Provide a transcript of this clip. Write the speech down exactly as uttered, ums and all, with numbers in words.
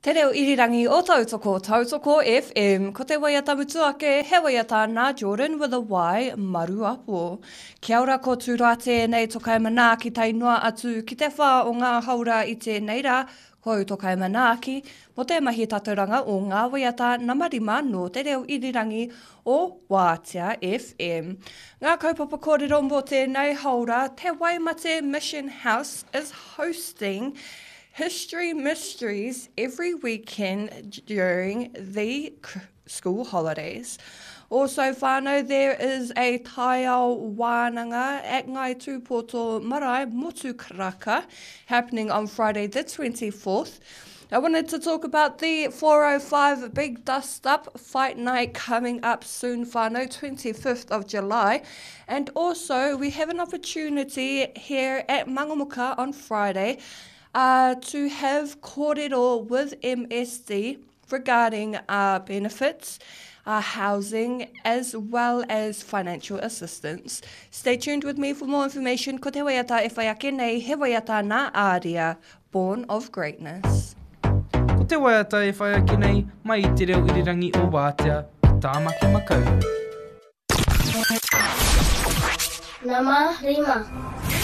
Te reo irirangi o Tautoko, Tautoko FM. Ko te waiata mutu ake, he waiata nā Jordan with a Y, Maruapo. Kia ora ko Tūroa tēnei tokai manaaki tae noa atu ki te whā o ngā haora i tēnei rā, ko au tokai manaaki, mo te mahi tatauranga o ngā waiata nama rima nō te reo irirangi o Wātea FM. Ngā kaupapa kōrero mō tēnei haora, Te Waimate Mission House is hosting History Mysteries every weekend during the school holidays. Also, whānau, there is a taiao wānanga at Ngai Tūpoto Marae, Motukaraka, happening on Friday the twenty-fourth. I wanted to talk about the four oh five Big Dust Up Fight Night coming up soon, whānau, twenty-fifth of July. And also, we have an opportunity here at Mangamuka on Friday uh, to have kōrero with M S D regarding, uh, benefits, uh, housing, as well as financial assistance. Stay tuned with me for more information. Ko te waiata e whai ake nei, he waiata nā Aria, Born of Greatness. Ko te waiata e whai ake nei, mai i te reo irirangi o Wātea, ki Tāmaki Makaurau. Nama rima.